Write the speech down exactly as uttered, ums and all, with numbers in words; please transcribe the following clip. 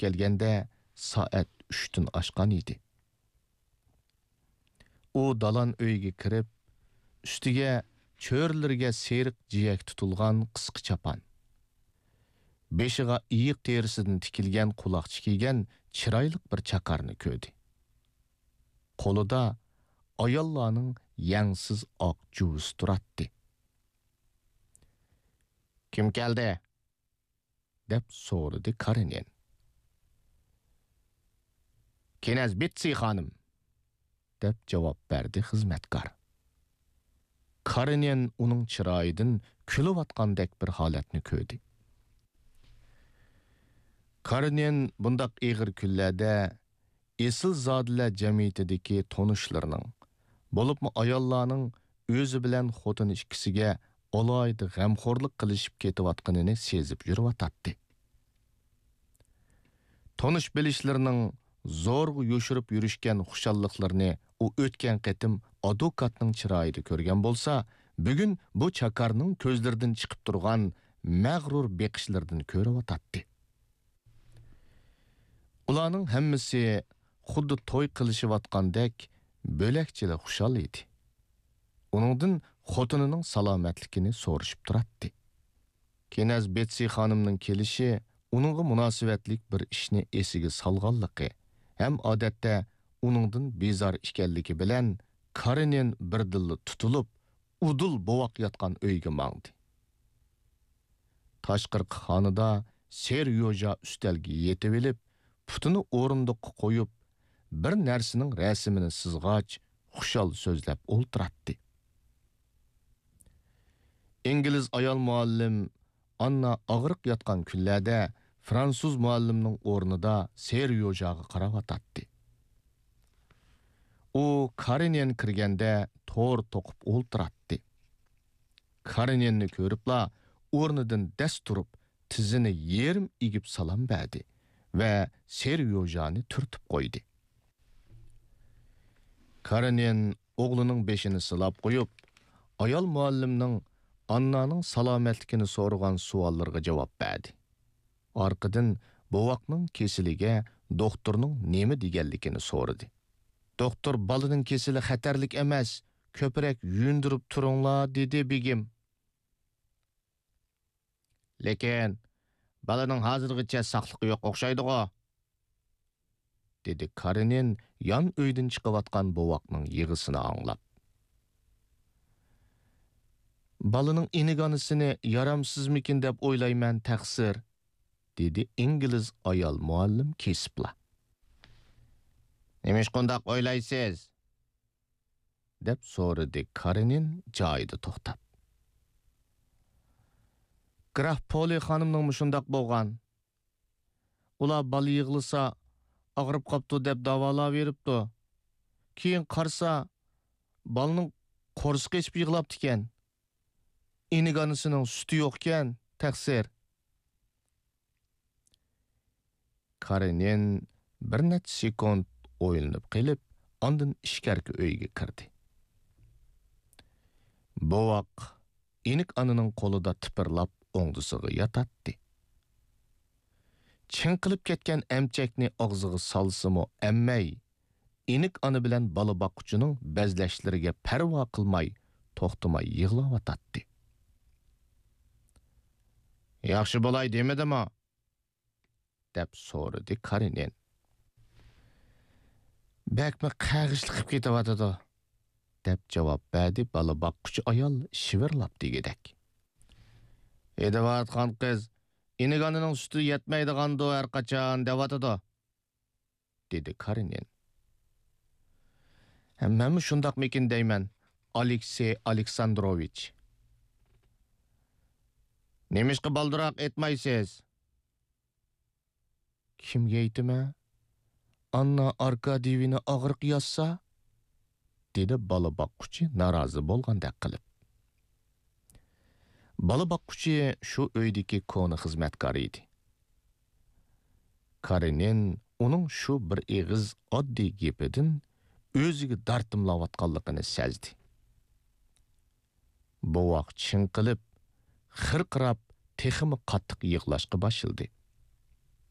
كەلگەندە سائەت ئۈچتىن ئاشقان ئىدى. ئۇ دالان ئۆيگە كىرىپ، ئۈستىگە چۆرىلىرىگە سېرىق جىيەك تۇتۇلغان قىسقا چاپان، بېشىغا ئېيىق تېرىسىدىن تىكىلگەن قۇلاقچە كىيگەن چىرايلىق بىر چاكارنى كۆردى. قولىدا ئاياللارنىڭ يەڭسىز ئاق جۇۋىسى تۇراتتى. «كىم كەلدى؟» دەپ سورىدى كارېنىن. «كىنەز بېتسى خانىم!» دەپ جاۋاب بەردى خىزمەتكار. كارېنىن ئۇنىڭ چىرايىدىن كۈلۈۋاتقاندەك بىر ھالەتنى كۆردى. كارېنىن بۇنداق ئېغىر كۈنلەردە ئېسىلزادىلەر جەمئىيىتىدىكى تونۇشلىرىنىڭ، بولۇپمۇ ئاياللارنىڭ ئۆزى بىلەن خوتۇنى ئىككىسىگە ئالاھىدە غەمخورلۇق قىلىشىپ كېتىۋاتقىنىنى سېزىپ يۈرۈۋاتاتتى. تونۇش بىلىشلىرىنىڭ زورغا يوشۇرۇپ يۈرۈشكەن خۇشاللىقلىرىنى ئۇ ئۆتكەن قېتىم ئادۋوكاتنىڭ چىرايىدا كۆرگەن بولسا، بۈگۈن بۇ چاكارنىڭ كۆزلىرىدىن چىقىپ تۇرغان مەغرۇر بېقىشلىرىدىن كۆرۈۋاتاتتى. ئۇلارنىڭ ھەممىسى خۇددى توي قىلىشىۋاتقاندەك بۆلەكچىلا خۇشال ئىدى. ئۇنىڭدىن خوتۇنىنىڭ سالامەتلىكىنى سورىشىپ تۇراتتى. كىنەز بېتسى خانىمنىڭ كېلىشى ئۇنىڭغا مۇناسىۋەتلىك بىر ئىشنى ئېسىگە سالغانلىقى ھەم ئادەتتە ئۇنىڭدىن بىزار ئىكەنلىكى بىلەن كارېنىن بىردىنلا تۇتۇلۇپ، ئۇدۇل بوۋاق ياتقان ئۆيگە ماڭدى. تاشقىرىقى خانىدا سېريوژا ئۈستەلگە يېتىۋېلىپ، پۇتىنى ئورۇندۇققا قويۇپ، بىر نەرسىنىڭ رەسىمىنى سىزغاچ، خۇشال سۆزلەپ ئولتۇراتتى. ئىنگلىز ئايال مۇئەللىم ئاننا ئاغرىق ياتقان كۈنلەردە فرانسۇز مۇئەللىمنىڭ ئورنىدا سېريوژاغا قاراۋاتاتتى. ئۇ كارېنىن كىرگەندە تور توقۇپ ئولتۇراتتى. كارېنىننى كۆرۈپلا ئورنىدىن دەس تۇرۇپ، تىزىنى يېرىم ئېگىپ سالام بەردى ۋە سېريوژانى تۈرتۈپ قويدى. كارېنىن ئوغلىنىڭ بېشىنى سىلاپ قويۇپ، ئايال مۇئەللىمنىڭ ئاننانىڭ سالامەتلىكىنى سورىغان سوئاللىرىغا جاۋاب بەردى. ئارقىدىن بوۋاقنىڭ كېسىلىگە دوختۇرنىڭ نېمە دېگەنلىكىنى سورىدى. «دوختۇر بالىنىڭ كېسىلى خەتەرلىك ئەمەس، كۆپرەك يۇيۇندۇرۇپ تۇرۇڭلار» دېدى، بېگىم. «لېكىن بالىنىڭ ھازىرغىچە ساقلىقى يوق ئوخشايدىغۇ؟» دېدى كارېنىن يان ئۆيدىن چىقىۋاتقان بوۋاقنىڭ يىغىسىنى ئاڭلاپ. «بالىنىڭ ئىنىك ئانىسىنى يارامسىزمىكىن دەپ ئويلايمەن، تەقسىر»، دېدى ئىنگلىز ئايال مۇئەللىم كېسىپلا. «نېمىشقا ئۇنداق ئويلايسىز؟» دەپ سورىدى كارېنىن جايىدا توختاپ. «گراف پولى خانىمنىڭمۇ شۇنداق بولغان. ئۇلار بالا يىغلىسا، ئاغرىپ قاپتۇ دەپ داۋالاۋېرىپتۇ. كېيىن قارىسا، بالىنىڭ قورسىقى ئېچىپ يىغلاپتىكەن. ئىنىك ئانىسىنىڭ سۈتى يوقكەن، تەقسىر.» كارېنىن بىر نەچچە سېكۇنت ئويلىنىپ قېلىپ، ئاندىن ئىچكەرىكى ئۆيگە كىردى. بوۋاق ئىنىك ئانىنىڭ قولىدا تىپىرلاپ ئوڭدىسىغا ياتاتتى. چىڭقىلىپ كەتكەن ئەمچەكنى ئاغزىغا سالسىمۇ ئەممەي، ئىنىك ئانا بىلەن بالا باققۇچىنىڭ بەزلەشلىرىگە پەرۋا قىلماي، توختىماي يىغلاۋاتاتتى. «ياخشى بولاي دېمىدىمۇ؟» دەپ سورىدى كارېنىن. «بەكمۇ قەغىشلىقىپ كېتىۋاتىدۇ»، دەپ جاۋاب بەردى بالا باققۇچى ئايال شىۋىرلاپ دېگۈدەك. «ھېدىۋاتقان قىز ئىنىك ئانىنىڭ سۈتى يەتمەيدىغاندۇ ھەرقاچان دەۋاتىدۇ»، دېدى كارېنىن. «مەنمۇ شۇنداقمىكىن دەيمەن، ئالېكسېي ئالېكساندروۋىچ.» «نېمىشقا بالدۇراق ئېيتمايسىز؟» «كىمگە ئېيتىمەن؟ ئاننا ئاركادىيېۋنا ئاغرىق ياتسا؟» دېدى بالا باققۇچى نارازى بولغاندەك قىلىپ. بالا باققۇچى شۇ ئۆيدىكى كونا خىزمەتكار ئىدى. كارېنىن ئۇنىڭ شۇ بىر ئېغىز ئاددىي گېپىدىن ئۆزىگە دارتىملاۋاتقانلىقىنى سەزدى. بوۋاق چىڭقىلىپ، خىرقىراپ، تېخىمۇ قاتتىق يىغلاشقا باشلىدى.